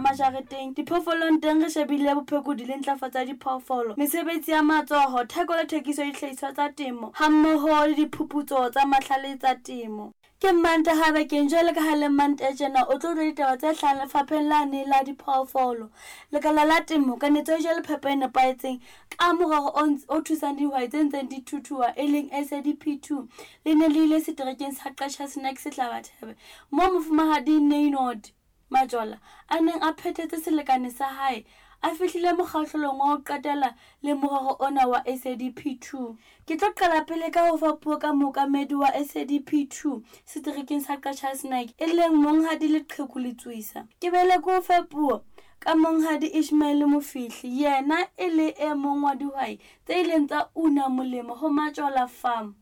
Majareteng, diphoofolong teng re shebile bophekodi le ntlafatso ya diphoofolo, mesebetsi ya matsoho, theko le thekiso ya dihlahiswa tsa temo hammoho le diphuputso tsa mahlale tsa temo. Ke Mmantaha bekeng jwale ka ha le Mmantaha tjena o tlo utlwa ditaba tse hlahang lefapheng lane la diphoofolo. Lekala la temo, kanetso ya dijo le phepo e nepahetseng ka morero o thusang dihwai tse ntseng di thuthuha e leng SADP2 le ne le ile seterekeng sa Qacha's Nek Sehlabathebe moo Mofumahadi Neynord Majola a neng a phethetse selekane sa hae a fihlile mokgahlelong wa ho qetela le morero ona wa SADP2. Ke tlo qala pele ka ho fa puo ka mookamedi wa SADP2 seterekeng sa Qacha's Nek e leng Monghadi Leqheku Letsoisa. Ke bele ke o fe puo ka Monghadi Ishmael Mofihli, yena e le e mong wa dihwai tse ileng tsa una molemo ho Majola Farm.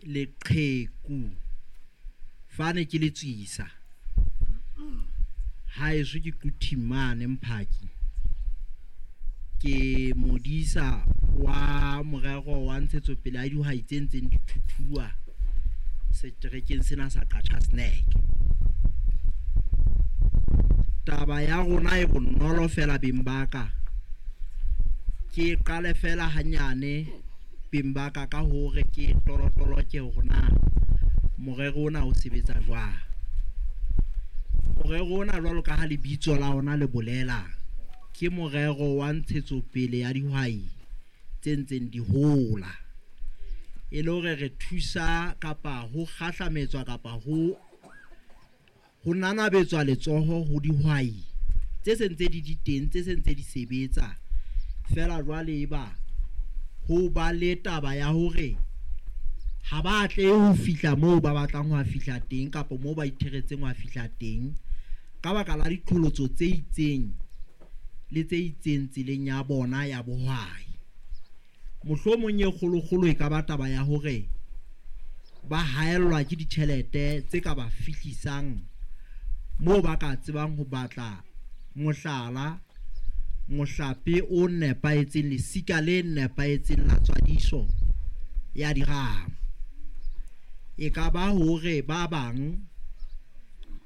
Leqheku fane ke letswisa haeso ke Quthing mane Mphaki ke modisa wa morero wa ntshetsopele ya dihwai tse ntseng di thuthuwa seterekeng sena sa Qacha's Nek. Taba ya rona e bonolo fela beng ba ka ke qale fela hanyane beng ba ka ka hore ke tolotoloke hore na morero ona o sebetsa jwang. Morero ona jwalo ka ha lebitso la ona le bolela ke morero wa ntshetsopele ya dihwai tse ntseng di hola e le hore re thusa kapa ho kgahlametswa kapa ho Ho nanabetswa letsoho ho dihwai tse se ntse di di teng, tse se ntse di sebetsa feela jwale eba ho ba le taba ya hore ha ba atlehe ho fihla moo ba batlang ho fihla teng kapa moo ba itheretseng ho fihla teng ka baka la diqholotso tse itseng le tse itseng tseleng ya bona ya bohwai. Mohlomong e kgolokgolo e ka ba taba ya hore ba haellwa ke ditjhelete tse ka ba fihlisang moo ba ka tsebang ho batla mohlala, mohlape o nepahetseng, lesika le nepahetseng la tswadiso ya diramo. E ka ba hore ba bang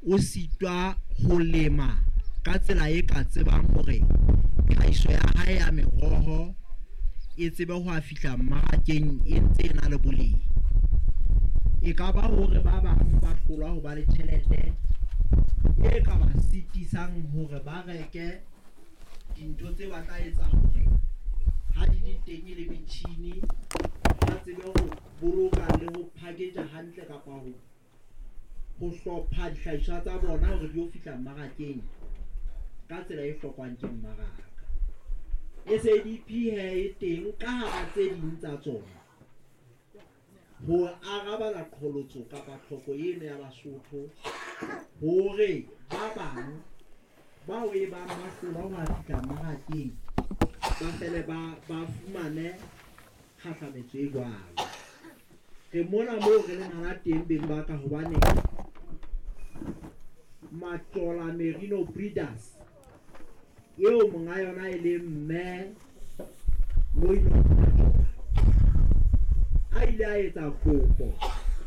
o sitwa ho lema ka tsela e ka tsebang hore tlhahiso ya hae ya meroho e tsebe ho a fihla mmarakeng e ntse e na le boleng. E ka ba hore ba bang ba hlolwa ho ba le tjhelete e ka ba sitisang hore ba reke dintho tse ba tla etsa hore ha di le teng e le metjhini ba tsebe ho boloka le ho package hantle kapa ho ho hlopha dihlahiswa tsa bona hore di yo fihla mmarakeng ka tsela e hlokwang ke mmaraka. SADP he e teng ka hara tse ding tsa tsona ho arabela qholotso kapa tlhoko eno ya Basotho hore ba bang bao e bang ba hlolwa ho a fihla mmarakeng ba fele ba ba fumane kgahlametso e jwalo. Re mona moo re leng hana teng beng ba ka hobane Majola Merino Breeders eo monga yona e leng mme Loino Majola a ile a etsa kopo.